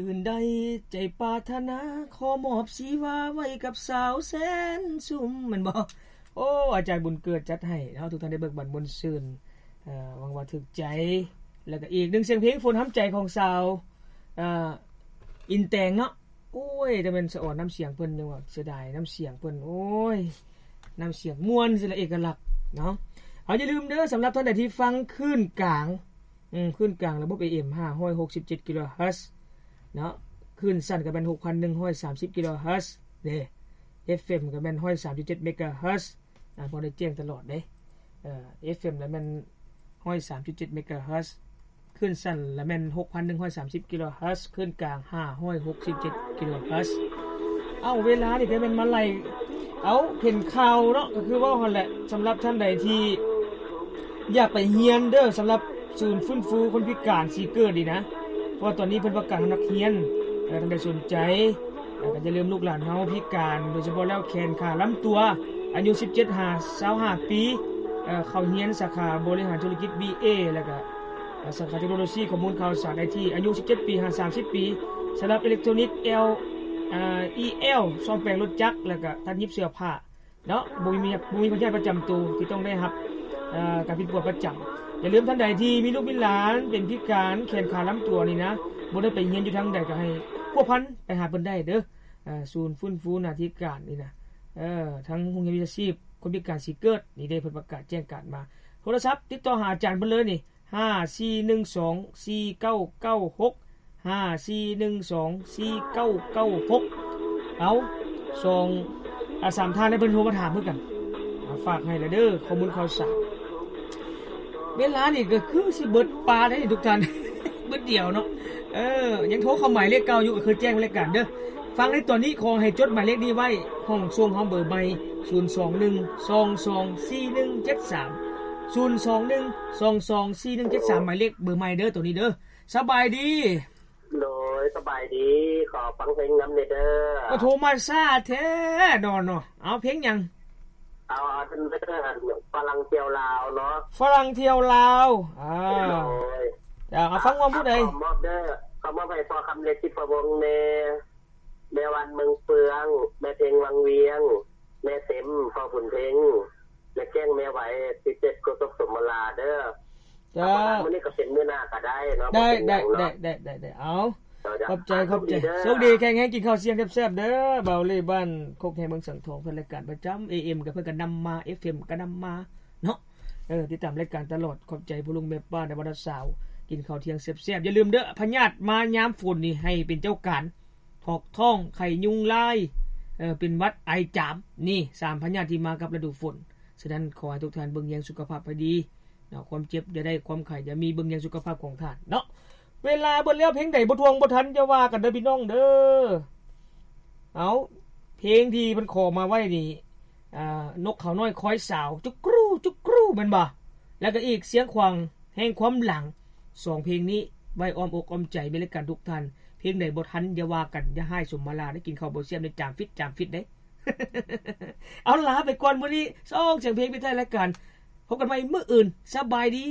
ອື່ນໃດໃຈປາດຖະໜາ ຂໍມອບຊີວາໄວ້ກັບສາວແສນຊຸມ ແມ່ນບໍ່? ໂອ້ ອາຈານບຸນເກີດຈັດໃຫ້ເນາະ ທຸກທ່ານໄດ້ເບີກບານມ່ວນຊື່ນ ເອີ ຫວັງວ່າຖືກໃຈ. ແລ້ວກໍອີກໜຶ່ງສຽງເພງ ຝົນຫ້ຳໃຈຂອງສາວ ເອີ ອິນແຕງເນາະ. ໂອ້ຍ ແຕ່ແມ່ນສະອອນນ້ຳສຽງເພິ່ນ ຍັງວ່າເສຍດາຍນ້ຳສຽງເພິ່ນ ໂອ້ຍ ນ້ຳສຽງມ່ວນ ເສຍເອກະລັກເນາະ. ເອົາ ຢ່າລືມເດີ ສຳລັບທ່ານໃດທີ່ຟັງຄື້ນກາງ ອືມ ຄື້ນກາງລະບົບ ເອເອັມ ຫ້າຮ້ອຍຫົກສິບເຈັດກິໂລເຮີດເນາະ, ຄື້ນສັ້ນກໍແມ່ນ ຫົກພັນໜຶ່ງຮ້ອຍສາມສິບກິໂລເຮີດເດ້, ເອັຟເອັມກໍແມ່ນ ຮ້ອຍສາມຈຸດເຈັດເມກາເຮີດ ອາ ພໍໄດ້ແຈ້ງຕະຫຼອດເດ້. ເອີ ເອັຟເອັມລະແມ່ນ ຮ້ອຍສາມຈຸດເຈັດເມກາເຮີດ, ຄື້ນສັ້ນລະແມ່ນ ຫົກພັນໜຶ່ງຮ້ອຍສາມສິບກິໂລເຮີດ, ຄື້ນກາງ ຫ້າຮ້ອຍຫົກສິບເຈັດກິໂລເຮີດ. ເອົ້າ ເວລານີ້ກໍແມ່ນມາໄລ່ ເອົາ ເຫັນຂ່າວເນາະ ກໍຄືເວົ້າຫັ້ນແຫຼະ. ສຳລັບທ່ານໃດທີ່ ຢາກໄປຮຽນເດີ ສຳລັບສູນຟື້ນຟູຄົນພິການສີເກີດນີ້ນະ, ເພາະວ່າຕອນນີ້ເພິ່ນປະກາດຮັບນັກຮຽນ. ເອີ ທ່ານໃດສົນໃຈ ເອີ ກໍຢ່າລືມ ລູກຫຼານເຮົາພິການ ໂດຍສະເພາະແລ້ວແຂນຂາລຳຕົວ ອາຍຸສິບເຈັດຫາຊາວຫ້າປີ ເອີ ເຂົ້າຮຽນສາຂາບໍລິຫານທຸລະກິດ ບີເອ ແລ້ວກໍ ສາຂາເຕັກໂນໂລຊີ ຂໍ້ມູນຂ່າວສານ ໄອທີ ອາຍຸສິບເຈັດປີຫາສາມສິບປີ. ສຳລັບເອເລັກໂທຣນິກ ແອລ ເອີ ອີແອລ ສ້ອມແປງລົດຈັກ ແລ້ວກໍຕັດຫຍິບເສື້ອຜ້າ ເນາະ, ບໍ່ມີ ບໍ່ມີພະຍາດປະຈຳໂຕທີ່ຕ້ອງໄດ້ຮັບ ເອີ ການປິ່ນປົວປະຈຳ. ຢ່າລືມ ທ່ານໃດທີ່ມີລູກມີຫຼານເປັນພິການແຂນຂາລຳຕົວນີ້ນະ, ບໍ່ໄດ້ໄປຮຽນຢູ່ທາງໃດ ກໍໃຫ້ພົວພັນໄປຫາເພິ່ນໄດ້ເດີ. ເອີ ສູນຟື້ນຟູໜ້າທີ່ການນີ້ນະ, ເອີ ທາງໂຮງຮຽນວິຊາຊີບຄົນພິການສີເກີດນີ້ເດ້ ເພິ່ນປະກາດແຈ້ງການມາ. ໂທລະສັບຕິດຕໍ່ຫາອາຈານເພິ່ນເລີຍນີ້ ຫ້າສີ່ໜຶ່ງສອງສີ່ເກົ້າເກົ້າຫົກ ຫ້າສີ່ໜຶ່ງສອງສີ່ເກົ້າເກົ້າຫົກ. ເອົາ ສອງ ອາ ສາມທ່ານໃຫ້ເພິ່ນໂທມາຖາມຄືກັນ. ອາ ຝາກໃຫ້ລະເດີ ຂໍ້ມູນຂ່າວສານ. ເວລານີ້ກໍຄືຊິເບິດປາໄດ້ທຸກທ່ານ ເບິດດຽວເນາະ. ເອີ ຍັງໂທເຂົ້າໝາຍເລກເກົ່າຢູ່ ກໍຄືແຈ້ງລາຍການເດີ. ຟັງໃນຕອນນີ້ ຂໍໃຫ້ຈົດໝາຍເລກນີ້ໄວ້ ຫ້ອງສົ່ງເຮົາເບີໃໝ່ ສູນສອງໜຶ່ງສອງສອງສີ່ໜຶ່ງເຈັດສາມ ສູນສອງໜຶ່ງສອງສອງສີ່ໜຶ່ງເຈັດສາມ ໝາຍເລກເບີໃໝ່ເດີ ໂຕນີ້ເດີ. ສະບາຍດີ. ໂດຍ ສະບາຍດີ. ຂໍຟັງເພງນຳແດ່ເດີ. ກໍໂທມາຊ້າແທ້ເນາະ. ເອົາ ເພງຫຍັງ? ເອົາ ເອົາເດີ ຝຣັ່ງທ່ຽວລາວເນາະ. ຝຣັ່ງທ່ຽວລາວ. ອາ ໂດຍ ເອົາ ຟັງວ່າຜູ້ໃດ? ຂໍມອບເດີ ຂໍມອບໃຫ້ພໍ່ຄຳເລັດ ທິບພະວົງ ແມ່ ແມ່ວັນ ເມືອງເຟືອງ, ແມ່ເພັງ ວັງວຽງ, ແມ່ເຕັມ ພໍ່ບຸນເພັງ, ແມ່ແກ້ງ ແມ່ໄຫວ ສິບເຈັດ ໂຄສົກ ສົມມະລາເດີ. ເຈົ້າ ມື້ນີ້ກໍເປັນມື້ໜ້າກໍໄດ້ເນາະ. ໄດ້ ບໍ່ເປັນຫຍັງເນາະ. ໄດ້ ໄດ້ ໄດ້ ໄດ້ ເອົາ ເຈົ້າ ຂອບໃຈ ຂອບໃຈ. ໂຊກດີ ແຂງແຮງ ກິນເຂົ້າສ່ຽງແຊບໆເດີ. ບ່າວເລບ້ານໂຄກແຮເມືອງສັງທອງ ເພິ່ນລາຍການປະຈຳ ເອເອັມ ກໍເພິ່ນກໍນຳມາ ເອັຟເອັມ ກໍນຳມາເນາະ. ເອີ ຕິດຕາມລາຍການຕະຫຼອດ. ຂອບໃຈພໍ່ລຸງແມ່ປ້າ ໃນວັນເສົາ ກິນເຂົ້າທ່ຽງແຊບໆ. ຢ່າລືມເດີ ພະຍາດມາຍາມຝົນນີ້ ໃຫ້ເປັນເຈົ້າການ ຖອກທ້ອງ ໄຂ້ຍຸງລາຍ ເອີ ເປັນຫວັດ ໄອ ຈາມ ນີ້ສາມພະຍາດທີ່ມາກັບລະດູຝົນ. ສະນັ້ນ ຂໍໃຫ້ທຸກທ່ານເບິ່ງແຍງສຸຂະພາບໃຫ້ດີເນາະ, ຄວາມເຈັບຢ່າໄດ້ ຄວາມໄຂ້ຢ່າມີ, ເບິ່ງແຍງສຸຂະພາບຂອງທ່ານເນາະ. ເວລາເບິດແລ້ວ ເພງໃດບໍ່ທ່ວງບໍ່ທັນ ຢ່າວ່າກັນເດີພີ່ນ້ອງເດີ. ເອົາ ເພງທີ່ເພິ່ນຂໍມາໄວ້ນີ້ ອ່າ ນົກເຂົານ້ອຍຄອຍສາວ ຈຸກກຣູ ຈຸກກຣູ ແມ່ນບໍ່? ແລ້ວກໍອີກ ສຽງຂວາງແຫ່ງຄວາມຫຼັງ. ສອງເພງນີ້ໄວ້ອ້ອມອົກອ້ອມໃຈແມ່ນລາຍການທຸກທ່ານ. ເພງໃດບໍ່ທັນ ຢ່າວ່າກັນ, ຢ່າຮ້າຍສົມມາລາເດ້, ກິນເຂົ້າບໍ່ແຊບໃນຈາມຟິດ, ຈາມຟິດເດ້. ເອົາ ລາໄປກ່ອນມື້ນີ້ ສອງສຽງເພງປິດທ້າຍລາຍການ. ພົບກັນໃໝ່ມື້ອື່ນ. ສະບາຍດີ.